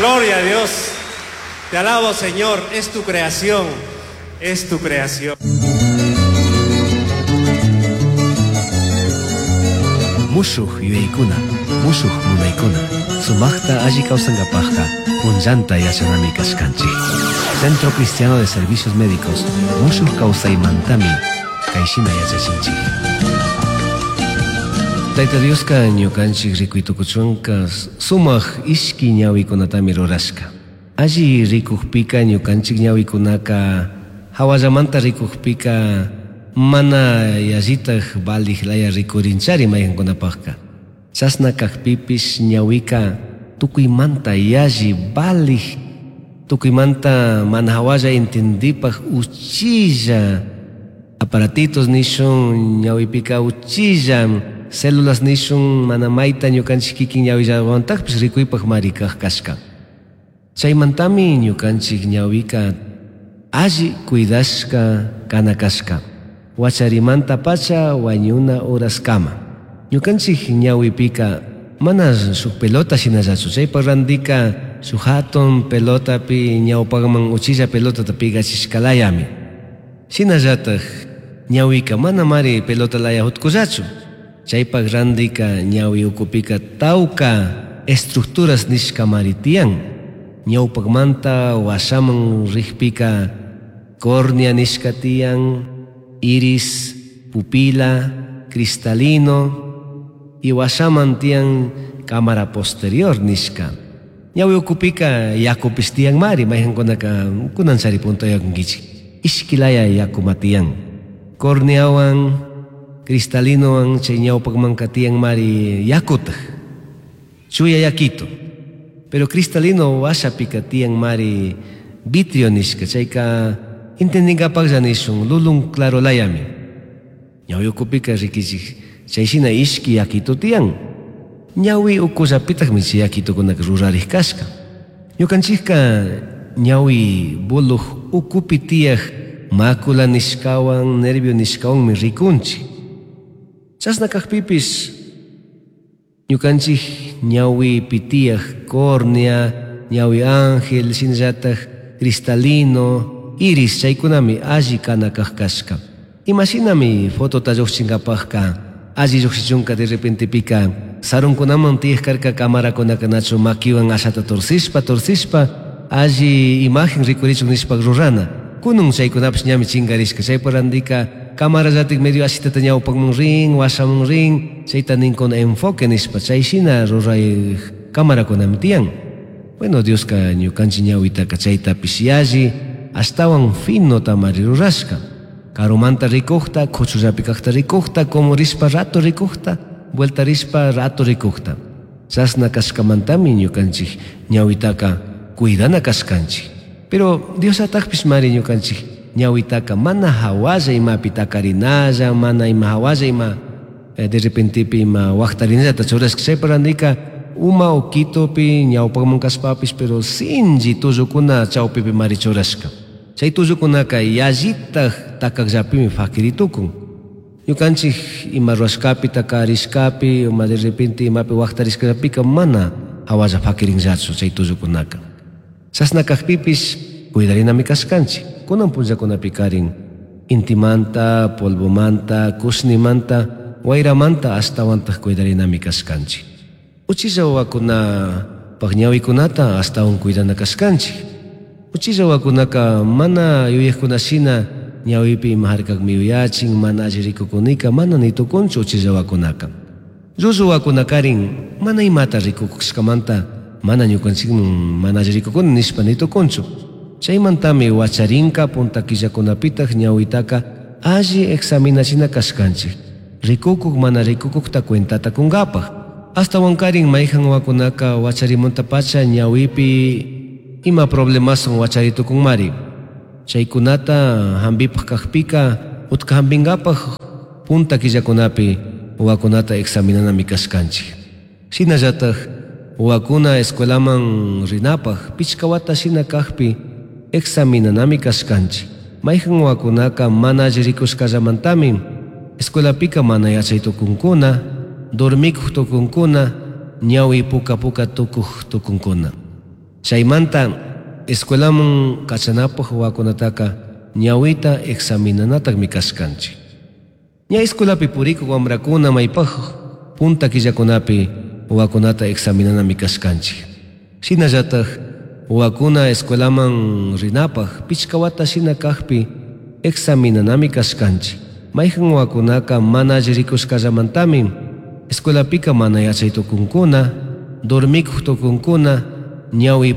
Gloria a Dios. Te alabo, Señor. Es tu creación. Es tu creación. Mushuj yuyaykuna, mushuj munaykuna, sumaqta alli kawsankapaqqa punllanta yachanami kashkanchik. Centro Cristiano de Servicios Médicos, mushuj kawsaymantami kayshina yachachinchik. Tayta Dioska ñukanchik rikuytukuchunka sumaq ishki ñawikunatami rurashka. Alli rikukpika ñukanchik ñawikunaka hawallamanta rikukpika mana yallitaj valij laya rikurinchari mayqankunapaqqa. Chashna kaqpipish ñawika tukuymanta yalli valij, tukuymanta mana hawalla entendipaj uchilla aparatitos nishun ñawipika uchilla células nishun mana mayta ñukanchik kikin ñawillawantajpish rikuypaj mari kaq kashka. Chaymantami ñukanchik ñawika alli cuidashka kana kashka. Wacharimanta pacha wañuna horaskama. Ñukanchik ñawipika mana shuk pelota shinallachu. Chaypa randika shuk hatun pelotapi ñawpaqman uchilla pelotata pigachishkalayami. Shinallataj ñawika mana mari pelota laya hutkullachu. Chaypaq randika ñawi ukupika tawka estructuras nishkamari tiyan. Ñawpaqmanta washaman riqpika córnea nishka tiyan, iris, pupila, cristalino y washaman tiyan cámara posterior nishka. Ñawi ukupika yakupis tiyan mari, mayqankunaka kunan chari puntayakunkichik. Ishkilaya yakuma tiyan. Corneawan, cristalinowan chay ñawpaqmanka tiyan mari yakutaj. Chuya yakito. Pero cristalino washapika tiyan mari vitrio nishka, chayka entendinkapaqlla nishun lulun claro layami. Ñawi ukupika rikichik chayshina ishki yakito tiyan. Ñawi ukullapitakmi chay yakitukunaka rurariq kashka. Ñukanchikka ñawi buluj ukupi tiyaq mácula nishkawan, nervio nishkawanmi rikunchik. Chashna kaqpipis ñukanchik ñawipi tiyaq córnea, ñawi ángel, shinallataj cristalino, iris chaykunami alli kana kaq kashka. Imashinami fotota lluqchinkapaqqa alli lluqshichunka de repentepika sarunkunaman tiyaq karka camarakunaka nachu makiwan ashata torcishpa torcishpa alli imagen rikurichun nishpa rurana. Kunun chaykunapish ñami chinkarishka. Chaypa randika camarallatik medio ashitata ñawpaqman rin, washaman rin, chayta ninkuna enfoque nishpa chayshina ruray camarakunami tiyan. Bueno, Dioska ñukanchik ñawitaka chaytapish yalli ashtawan fino tamari rurashka. Karumanta rikukta, kuchullapi kaqta rikukta, kumurishpa rato rikukta, vuelta rishpa rato rikukta. Chashna kashkamantami ñukanchik ñawitaka cuidana kashkanchik. Pero Dios atakpish mari ñukanchik ñawitaka mana hawalla imapi takarinalla, mana ima hawalla ima de repentepi ima waqtarinallata churashka. Chaypa randika uma ukitupi ñawpaqman kashpapish, pero sinchi tullukuna chawpipi mari churashka. Chay tullukunaka yallitaj takaqllapimi fakiritukun. Ñukanchik ima ruwashkapi takarishkapi, ima de repente imapi waqtarishkapika mana hawalla fakirinllachu chay tullukunaka. Chashna kaqpipish cuidarinami kashkanchik. Kunan punllakunapi karin intimanta, polvomanta, kushnimanta, wayramanta ashtawantaq cuidarinami kashkanchik. Uchilla wawakunapaq ñawikunata ashtawan cuidana kashkanchik. Uchilla wawakunaka mana yuyaqkunashina ñawipi ima harkaqmi yuyachin, mana alli rikukunika, mana nitukunchu uchilla wawakunaka. Llullu wawakunakarin mana imata rikukushkamanta mana ñukanchikman mana alli rikukuni nishpa nitukunchu. Chaymantami wacharinka punta killakunapitaq ñawitaka alli examinachina kashkanchik. Rikukuk mana rikukukta cuentata kunkapaq. Ashtawankarin mayqan wawakunaka wacharimuntapacha ñawipi ima problemason wacharitukunmari. Chaykunata hampipaq kaqpika utka hampinkapaq punta killakunapi wawakunata examinanami kashkanchik. Shinallataj wawakuna escuelaman rinapaq pichka wata shina kaqpi examinanami kashkanchik. Mayqan wawakunaka mana alli rikushkallamantami escuelapika mana yachay tukunkuna, dormikuq tukunkuna, ñawi puka puka tukuq tukunkuna. Chaymanta escuelaman kachanapaj wawakunataka ñawita examinanatakmi kashkanchik. Ña escuelapi purikuk wambrakuna maypaj punta killakunapi wawakunata examinanami kashkanchik. Shinallatak wawakuna escuelaman rinapaj pichka wata shina kajpi examinanami kashkanchik. Mayjan wawakunaka mana alli rikushkallamantami escuelapika mana yachay tukunkuna, dormikuj tukunkuna, ñawi.